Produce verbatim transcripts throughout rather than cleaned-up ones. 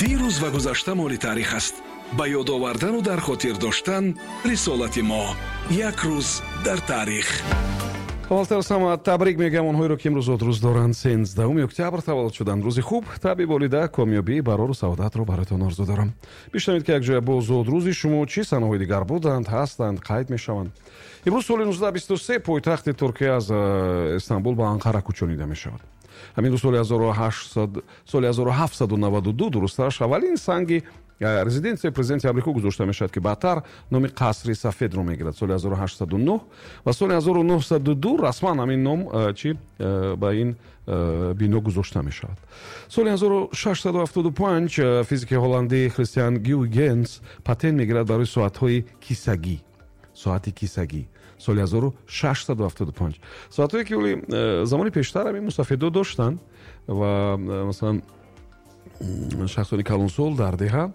Дирӯз ва гузашта моли таърих аст. Ба ёд овардану дар хотир доштан рисолати мо. Як рӯз дар таърих. Аввалтар аз ҳама табрик мегӯям онҳоеро, ки имрӯз зодрӯз доранд, сенздаҳуми октябр таваллуд шуданд. Рӯзи хуб, табъи болида, комёбӣ, барору саодатро бароятон орзу дорам. Бишнавед, ки якҷоя бо зодрӯзи шумо чӣ санаҳои дигар буданд, ҳастанд, қайд мешаванд. Имрӯз соли нуздаҳ бисту се пойтахти Туркия аз э, Истанбул ба Анқара кӯчонида мешавад. Ҳамин рӯз соли соли ҳазору ҳафтсаду наваду ду, дурусттараш, аввалин санги э, резиденсияи президенти Амрико гузошта мешавад, ки баъдтар номи Қасри Сафедро мегирад. Соли ҳазору ҳаштсаду нӯҳ ва соли ҳазору нӯҳсаду ду расман ҳамин ном э, чи э, ба ин бино гузошта мешавад. Соли ҳазору шашсаду ҳафтоду панҷ физики ҳолландӣ Христиан Гюйгенс патент мегирад барои соатҳои кисагӣ. Соати кисагӣ соли ҳазору шашсаду ҳафтоду панҷ. Соатҳое, ки оли замони пештар ҳамин мусафедо доштанд ва, масалан, шахсони калонсол дар деҳа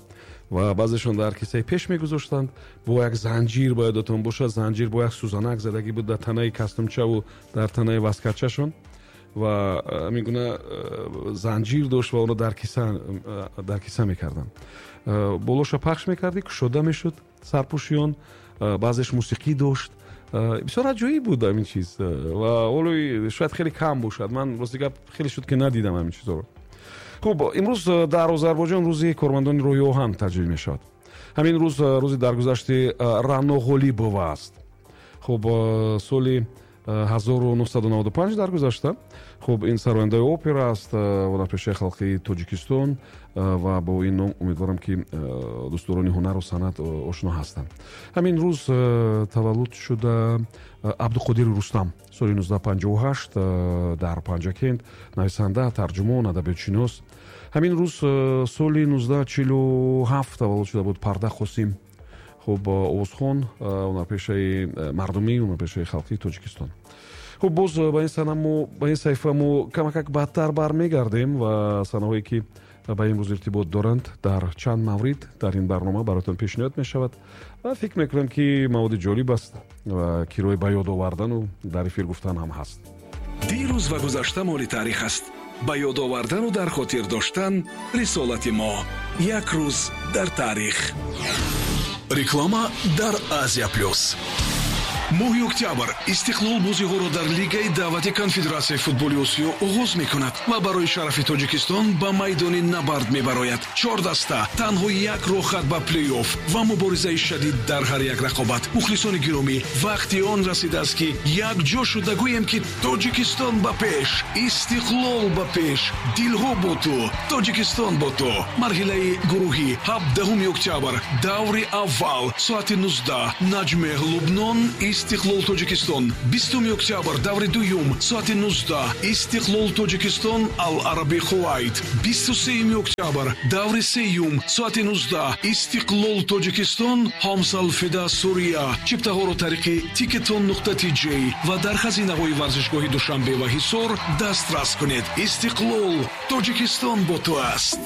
ва баъзешон дар кисаи пеш мегузоштанд бо як занҷир. Ба ёдатон бошад, занҷир бо як сӯзанак задагӣ буд дар танаи кастумчаву дар танаи васкачашон ва ҳамин гуна занҷир дошт ва онро дар киса дар киса мекарданд. Болоша пахш мекардӣ, кушода мешуд сарпӯши он, баъзеш мусиқӣ дошт. Бисёр аҷоиб буд ҳамин чиз ва ҳоло шояд хеле кам бошад. Ман, рости гап, хеле шуд, ки надидам ҳамин чизҳоро. Хуб, имрӯз дар Озарбойҷон рӯзи кормандони роҳи оҳан таҷлил мешавад. Ҳамин рӯз рӯзи даргузашти Рано Ғолибова аст. Хуб, соли ҳазору нӯҳсаду наваду панҷ даргузашта. Хуб, ин сарояндаи опера аст, ҳунарпешаи халқии Тоҷикистон ва бо ин ном умедворам, ки дӯстдорони ҳунару санъат ошно ҳастанд. Ҳамин рӯз таваллуд шуда Абдуқодири Рустам соли нуздаҳ панҷоҳу ҳашт дар Панҷакент, нависанда, тарҷумон, адабиётшинос. Ҳамин рӯз соли нуздаҳ чилу ҳафт таваллуд шуда буд Парда Қосим. Хуб, овозхон, ҳунарпешаи мардумӣ, ҳунарпешаи халқии Тоҷикистон. Хуб, боз ба ин сана мо, ба ин саҳифа мо камакак баъдтар бармегардем ва санаҳое, ки ба ин рӯз иртибот доранд, дар чанд маврид дар ин барнома бароятон пешниҳод мешавад ва фикр мекунам, ки маводи ҷолиб аст ва кирои ба ёд овардану дар эфир гуфтан ҳам ҳаст. Дирӯз ва гузашта моли таърих аст. Ба ёд овардану дар хотир доштан рисолати мо. Як рӯз дар таърих. Реклама дар Азия Плюс. Моҳи октябр Истиқлол бозиҳоро дар Лигаи даъвати Конфедератсияи футболи Осиё оғоз мекунад ва барои шарафи Тоҷикистон ба майдони набард мебарояд. Чор даста, танҳо як роҳхат ба плей-офф ва муборизаи шадид дар ҳар як рақобат. Мухлисони гиромӣ, вақти он расидааст, ки якҷо шуда гӯем, ки Тоҷикистон ба пеш, Истиқлол ба пеш, дилҳо бо ту, Тоҷикистон бо ту. Марҳилаи гурӯҳӣ, ҳабдаҳуми октябр, даври аввал, соати нуздаҳ, Наҷмеҳ Лубнон, Истиқлол Тоҷикистон. Бистуми октябр, даври дуюм, соати нуздаҳ, Истиқлол Тоҷикистон, Ал Араби Кувайт. Бисту сеюми октябр, даври сеюм, соати нуздаҳ, Истиқлол Тоҷикистон, Ҳомс Алфида Сурия. Чиптаҳоро тариқи тикетон нуқта тж ва дар хазинаҳои варзишгоҳи Душанбе ва Ҳисор дастрас кунед. Истиқлол, Тоҷикистон бо ту аст.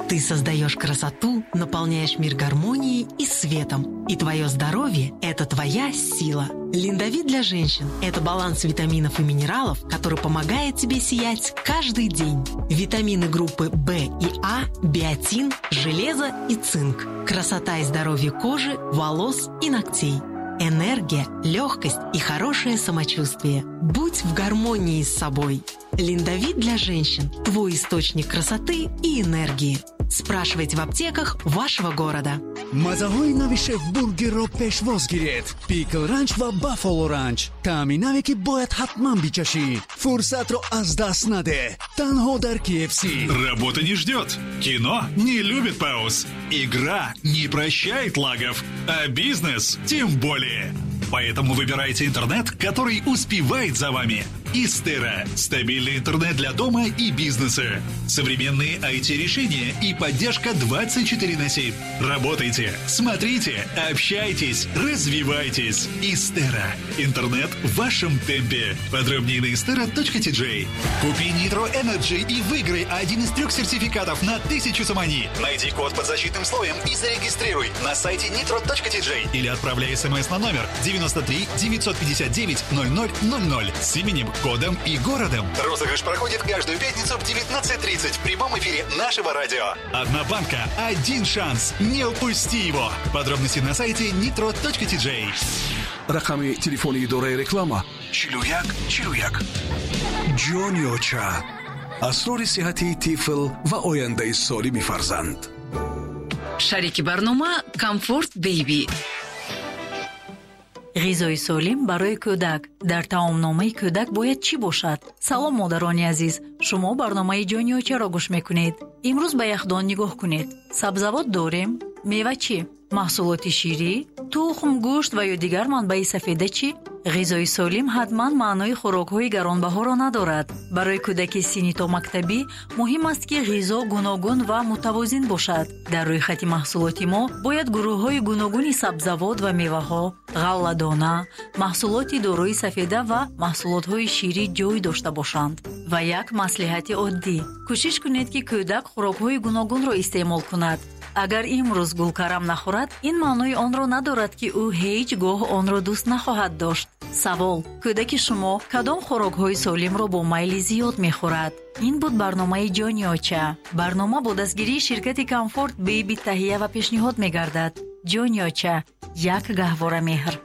Ты создаешь красоту, наполняешь мир гармонией и светом. И твое здоровье – это твоя сила. Линдовит для женщин – это баланс витаминов и минералов, который помогает тебе сиять каждый день. Витамины группы В и А, биотин, железо и цинк. Красота и здоровье кожи, волос и ногтей. Энергия, легкость и хорошее самочувствие. Будь в гармонии с собой. Линдовит для женщин – твой источник красоты и энергии. Спрашивайте в аптеках вашего города. Мазаҳои нави Шеф Бургерро пешвоз гиред: Пикл Ранч ва Баффало Ранч, таъми наве, ки бояд ҳатман бичашӣ. Фурсатро аз даст надеҳ, танҳо дар K F C. Работа не ждет, кино не любит пауз, игра не прощает лагов, а бизнес тем более. Поэтому выбирайте интернет, который успевает за вами. Истера. Стабильный интернет для дома и бизнеса. Современные I T-решения и поддержка двадцать четыре на семь. Работайте, смотрите, общайтесь, развивайтесь. Истера. Интернет в вашем темпе. Подробнее на istera точка T J. Купи Nitro Energy и выиграй один из трех сертификатов на тысячу сомони. Найди код под защитным слоем и зарегистрируй на сайте nitro точка T J или отправляй смс на номер девяносто три девятьсот пятьдесят девять ноль ноль ноль ноль с именем кодом и городом. Розыгрыш проходит каждую пятницу в девятнадцать тридцать в прямом эфире нашего радио. Одна банка, один шанс. Не упусти его. Подробности на сайте nitro точка ти джей. Рақами телефони идораи реклама чилу як чилу як. Ҷони оча. Асрори сиҳати тифл ва ояндаи солими фарзанд. Шарики барнома Комфорт Бейби. Ғизои солим барои кӯдак. Дар таомномаи кӯдак бояд чӣ бошад? Салом, модарони азиз. Шумо барномаи Ҷони очаро гӯш мекунед. Имрӯз ба яхдон нигоҳ кунед. Сабзавот дорем, мева чӣ? Маҳсулоти ширӣ, тухм, гӯшт ва ё дигар манбаи сафеда чӣ? Ғизои солим ҳатман маънои хӯрокҳои гаронбаҳоро надорад. Барои кӯдаки синни томактабӣ муҳим аст, ки ғизо гуногун ва мутавозин бошад. Дар рӯйхати маҳсулоти мо бояд гурӯҳҳои гуногуни сабзавот ва меваҳо, ғалладона, маҳсулоти дорои сафеда ва маҳсулотҳои ширӣ ҷой дошта бошанд. Ва як маслиҳати оддӣ: кӯшиш кунед, ки кӯдак хӯрокҳои гуногунро истеъмол кунад. Агар имрӯз гулкарам нахӯрад, ин маънои онро надорад, ки ӯ ҳеҷ гоҳ онро дӯст нахоҳад дошт. Савол: кӯдаки шумо кадом хӯрокҳои солимро бо майли зиёд мехӯрад? Ин буд барномаи Ҷони оча. Барнома бо дастгирии ширкати Комфорт Бейби таҳия ва пешниҳод мегардад. Ҷони оча, як гаҳвора меҳр.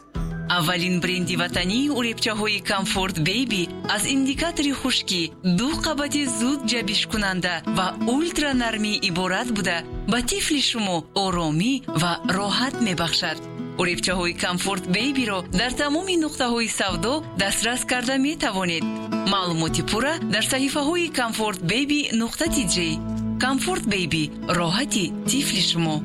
Аввалин бренди ватании уребчаҳои Комфорт Бейби аз индикатори хушкӣ, ду қабати зуд ҷабишкунанда ва ултранармӣ иборат буда, ба тифли шумо оромӣ ва роҳат мебахшад. Уребчаҳои Комфорт Бейбиро дар тамоми нуқтаҳои савдо дастрас карда метавонед. Маълумоти пурра дар саҳифаҳои Комфорт Бейби нуқта ти ҷей. Комфорт Бейби, роҳати тифли шумо.